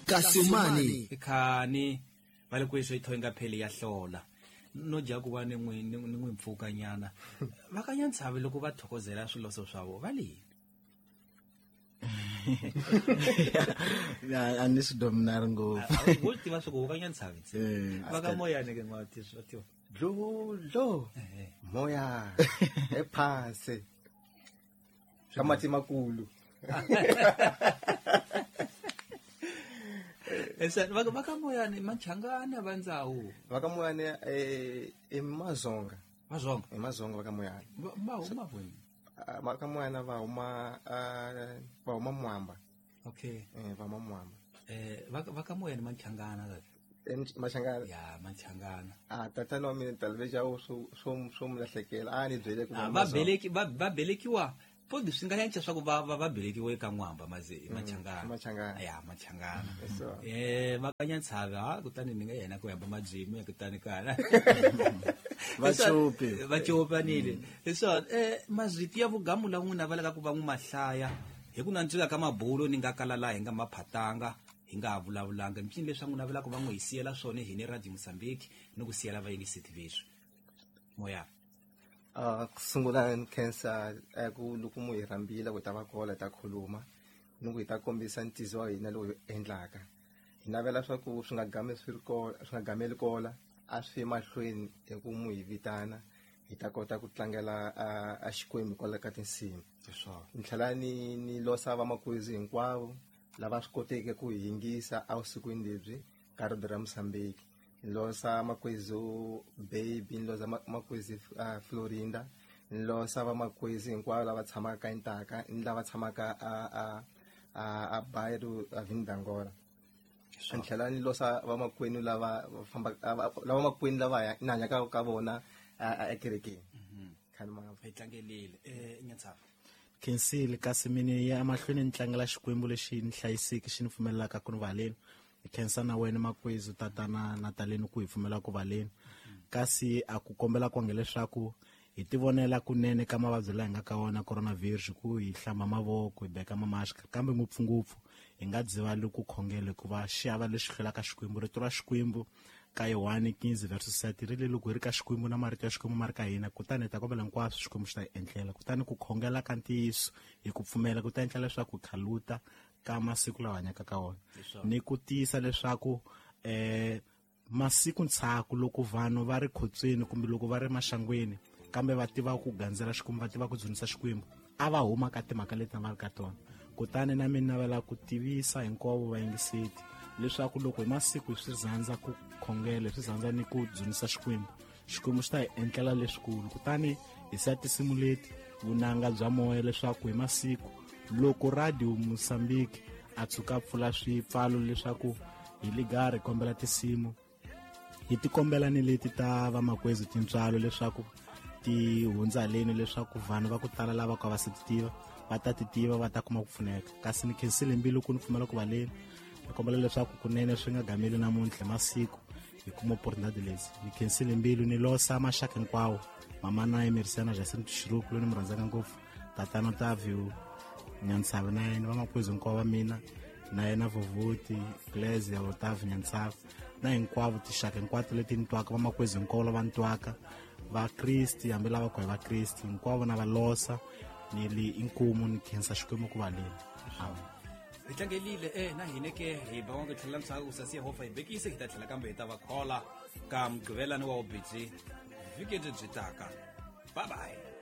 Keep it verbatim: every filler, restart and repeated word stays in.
Kasimani ikhani va le kweswo yi thoyinga pheli ya hlola no dya ku va ni n'wi ni n'wi mpfukanyana va ka Nyantshavi loko va thokozela swiloso swa vona va le a ni swi dominari ngopfu wo tiva swa ku va ka Nyantshavi va ka Moyane ke n'wa ti swa tiva dludlu moya ephasi ka mati makulu esa va va ka Moyane Machangana va ndzawu va ka Moyane eh i Mazonga Mazonga i Mazonga va ka Moyane va huma kwini va ka Moyane va huma va huma Mwamba okay eh va huma Mwamba eh va va ka Moyane Machangana tata Machangana ya Machangana ah tatana wa mina talveja swo swo swo mulahlekela a ni byele ku va beleki va va belekiwa podi swi nga yanca swa ku va va va belekiwe ka N'wamba maze Machangana Machangana ya Machangana eh va ka Nyantshavi ha kutani ni nga yena ku yamba majimi kutani kana va chopi va chopanile leswo eh mazwiti ya vugamu la n'wina va leka ku va n'wi mahlaya hi ku nandzika ka mabulo ni nga kala la hi nga maphatanga hi nga ha vulavulanga micini leswi n'wina va laka ku va n'wi hi siyela swona hi ni Radio Mozambique ni ku siyela vayingiseti veswi moya a sungula ni khensa ku loko mu hi rhambile ku ta va kola ta khuluma ni ku hi ta kombisa ntizo wa hina lowu hi endlaka hi navela swa ku swi nga gami swi ri kola swi nga gameli kola a swi mahlweni hi ku mu hi vitana hi ta kota ku tlangela a Xikwembu kwala ka tinsimu ni tlhela ni ni losa vamakwezi hinkwavo lava swi koteke ku hi yingisa evusikwini lebyi ka Radio ra Mozambique losa makwezi baby losa makwezi uh, Florinda losa vamakwezi hinkwavo lava tshamaka ka Intaka ni lava tshamaka a a a a Bairro a Vindangola ni tlhela ni losa vamakwenu lava famba lava makwenu lava ni hanyaka ka vona ekerekeni khani ma hi tlangelile eh Nyantshavi khensile kasi mini ya emahlweni ni tlangela Xikwembu lexi ni hlayiseke xi ni pfumelelaka ku ni valeni hi khensa na wena makwezu tatana Nataleni ku hi pfumela ku valeni kasi a ku kombela ku leswaku hi tivonela kunene ka mavabyi laha hi nga ka wona coronavirus ku hi hlamba mavoko hi beka mamask kambe ngopfungopfu hi nga dzivali ku khongela hikuva xiava lexi hlulaka Xikwembu rito ra Xikwembu ka Yohane quinze verse sept ri le loko hi ri ka Xikwembu na marito ya Xikwembu ma ri ka hina kutani hi ta kombela hinkwaswo Xikwembu xi ta hi endlela kutani ku khongela ka ntiyiso hi ku pfumela ku ta endla leswaku khaluta ka masiku lawa hanyaka ka wona ni ku tiyisa leswaku eh masiku ntshaku loko vanhu va ri khotsweni kumbe loko va ri maxangweni kambe va tiva ku gandzela Xikwembu va tiva ku dzunisa Xikwembu a va huma ka timhaka leti va ri ka tona kutani na mina navela ku tivisa hinkwavo vayingiseti leswaku loko hi masiku hi swi rhandza ku khongela hi swi rhandza ni ku dzunisa Xikwembu Xikwembu xi ta hi endlela leswikulu kutani hi siya tinsimu leti vunanga bya moya leswaku hi masiku loko Radio Mozambique a tshuka pfula swipfalo leswaku hi ligari kombela tinsimu hi tikombela ni leti ta vamakwezi tintswalo leswaku ti hundza leni leswaku vanhu va ku tala lava ka va se ti tiva va ta ti tiva va ta kuma ku pfuneka kasi ni khensile mbilu ku ni pfumela ku va leni ni kombela leswaku kunene swi nga gameli namuntlha masiku hi kuma opportunity leti ni khensile mbilu ni losa maxaka hinkwawo mama na Emerisana Jason Xiruku loyi ni mu rhandzaka ngopfu tatana Otavio Nyantshavi na yena vamakwezi hinkwavo va mina na yena Vovoti Glaze Otavio Nyantshavi na hinkwavo tinxaka hinkwato leti ni twaka vamakwezi hinkwavo lava ni twaka va Kristi hambi lava ku hi va Kristi hinkwavo na va losa ni li inkumu ni khensa Xikwembu ku va leni amen hi tlangelile eh na hina ke hi ba ku tlhela msaka ku sasi Yehovha hi bekise hi ta tlhela kambe hi ta va khola ka mugqivelani wa ubitsi vhiki lebyi taka bye bye.